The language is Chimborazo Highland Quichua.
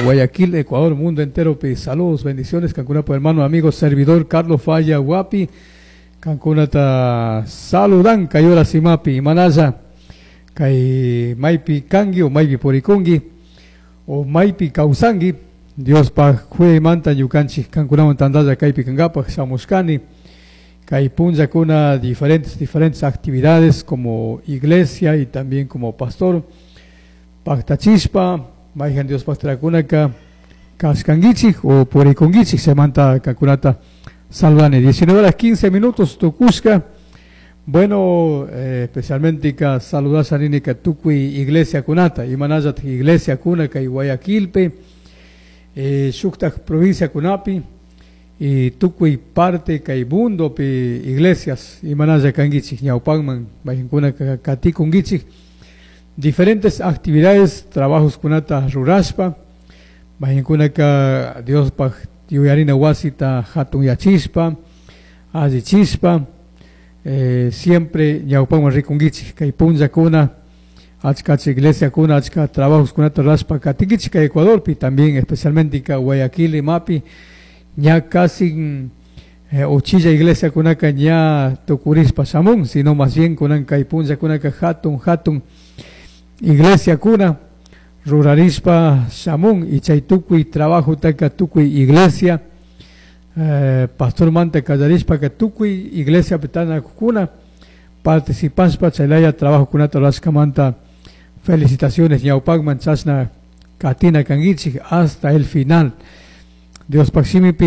Guayaquil, Ecuador, mundo entero pi. Saludos, bendiciones, kankunapaj hermano, amigo, servidor Carlos Falla Guapi. Kankunata saludan kay horas imapi, imanalla kay maypi kangi o maypi purikungi o maypi kawsangi. Diospaj kuyaymanta ñukanchik kankunawan tantalla kaypi kankapaj shamushkani. Kay punllakuna diferentes actividades como iglesia y también como pastor. Paktachishpa, mayjan Diospaj trakunaka kashkankichik o purikunkichik chaymanta kankunata saludani. 19 horas 15 minutos tukushka. Bueno, especialmente ka saludasha nini ka tukuy iglesia kunata, imanallataq iglesia kuna kay Guayaquilpi, shuktak provincia kunapi, y tukuy parte kay mundopi iglesias imanalla kankichik ñawpakman mayqankuna katikunkichik diferentes actividades, trabajos kunata rurashpa, mayqankunaka Diospaj yuyarina wasita hatunyachishpa, allichishpa, siempre ñawpakman rikunkichik kay punllakuna achka iglesia kuna achka trabajos kunata rurashpa katinkichik kay Ecuadorpi, también especialmente ka Guayaquil imapi, ña casi uchilla iglesia kunaka ña tukurishpa shamun, sino más bien kunan kay punllakunaka hatun hatun iglesia kuna rurarishpa shamun y chay tukuy trabajo taka tukuy iglesia, pastor manta kallarishpa ka tukuy iglesia pitanakukuna participashpa chaylaya trabajo kunata rurashkamanta felicitaciones ñawpakman chashna katina kankichik hasta el final. Diospaj shimipi.